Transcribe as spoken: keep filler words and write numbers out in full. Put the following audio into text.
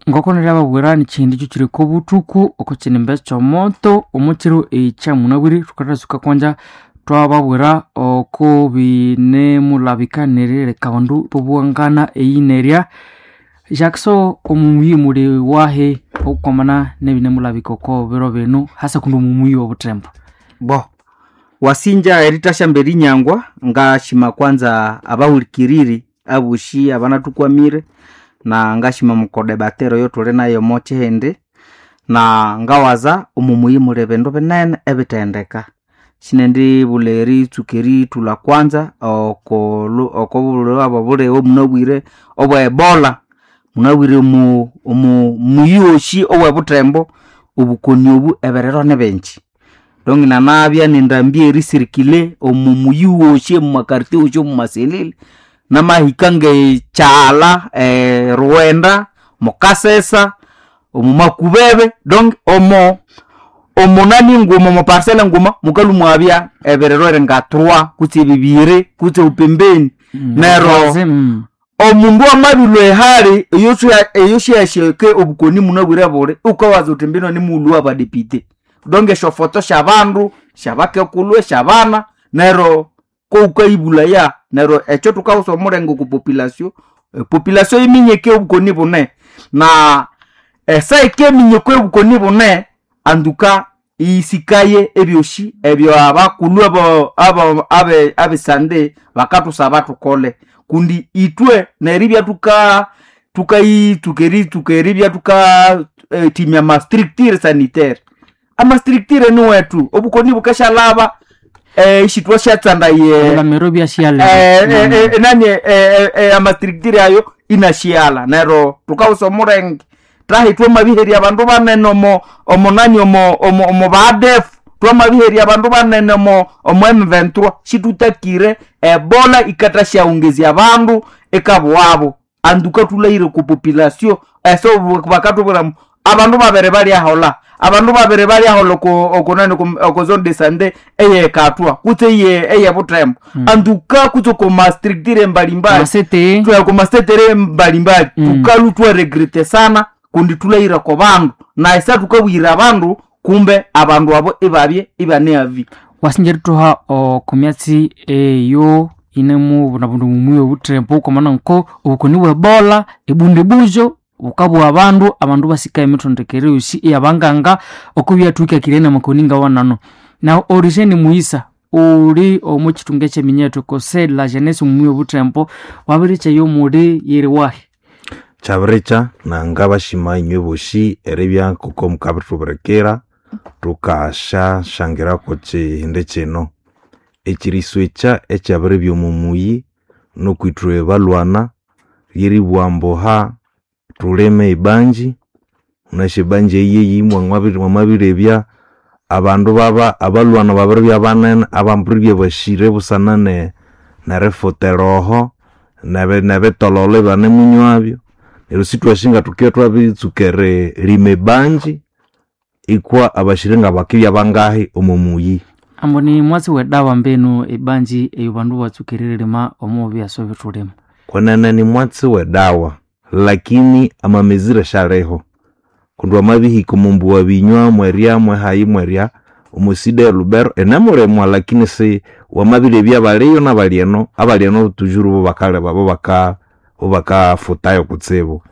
Ngoko neriababwira nikyihindi kyo kiri obuthuku oko kinimba ekyomoto omukiro ekyamunabwire thukathasuka kwanja twababwira oko binemulabika nerileka abandu bobuwangana eyinerya Jackson omumuyi muli wahi okukwamana nebinemulabika oko biro binu hasa kundi omumuyi obuthembo. Bo wasinja eritasya erinyangwa ngashima kwanza abahulikiriri abosi abanathukwamire na ngashima mukodebatero eyithuli nayo omo kihindi na ngawaza omo muyi muli bindu binene ebithendeka. Sinendibulha eritsuka erithulha kwanza okolu okobulhwa obulighe omunabwire obwe ebola. Munabwire omu omu muyi wosi owe buthembo obukoni obu ebiriro nibingi. Donc nanabya nendambi erisirikile omo muyi wosi omo maquartier wosi omo maselile namahika ngekyaghalha eRughenda, mukasesa, omo makubebe donc omo omonani nguma omo parcelle nguma mukalhwa imwabya ebiriro eringa trois kutse bibiri kutse pembeni. Neryo omundu amabilhwa ehali eyosyahike obukoni munabwire buli wukawaza wuthi mbino nimughulhu wabadepite. Donc esyofoto syabandu, syabakekulhu, esyabana neryo kowukayibulhaya neryo ekyo thukawusa omulenge oko population, epopulation yiminyeke obukoni bune. Na esaa yikiminya okwa obukoni bune antuka iyisikaye ebyosi ebyabakulhu abo abesande bakathusaba thukole. Kundi ithwe neribya thuka thukayitsuka eritsuka eribya thukathimya ama structure sanitaire. Ama structure niwethu obukoni bukasyalhaba isithwasyatsandaya Ebilamiro ibyasiyalha enani ama structure ayo inasighalha neryo thukawusa omulenge thahi thwamabiherya abandu banene omo omonani omo omo badefu thwamabiherya abandu banene omo omo M twenty-three sithutakire ebola yikathasyawungezya abandu ikabughabo. Antuka thulhahire oko population eso bakathubwira ambu abandu babiri balyaholha, abandu babiri balyaholha oko okonani oko zone de sante eyekathwa kutse eye eyebuthembo. Antuka kutse oko ma structure mbalimbali Amasete oko masetere mbalimbali thukalhwa ithwaregrete sana kundi thulhahire oko bandu na esa thukabuyira abandu kumbe abandu abo ibabye ibane avi. Wasinja erithuha oko myatsi eyo yinemubunabuna omuyi obuthembo kwamana nko obukoni bwe ebola ebundibujo bukabugha abandu abandu basika emithondekere yosi eyabanganga okubyathwikakirye namakoni ngawanano. Nahu Origene Mughisa uli omo kithunga ekyeminyethu conseil de la jeunesse omuyi obuthembo wabirikya omuli yiri wahi? Kyabirikya nangabashima inywe bosi eribya ngoko mukabithubirikira thukasyasyangirako kihindi kino. Ekiriswekya ekyabiribya omo muyi nukwithwe balhwana lyeribugha ambu ha thulime ebanji, wunasi ebanji eyi mwamabirebya abandu baba abalhwana babiribya banene abambiribya basire busana ne nerifuta eroho nebitololo ibanemunywabyo. Neryo sithwasi ngathukibya thwabiritsuka eririma ebanji ikwa abasire ngabakibya bangahi omo muyi. Ambu ni mwatsi wedawa mbinu ebanji eyo bandu batsuka eririma omo byaswa ebithulima. Kwenene ni mwatsi wedawa lakini amamezire syaliho kundi wamabihika omo mbuwa binywa mwerya mwehayi mwerya omo side e Lubero inemulimwa lakini si wamabirebya abaliyo nabali eno abali eno tujuru bo bakaleba bo baka bo bakafutayo kutsibu.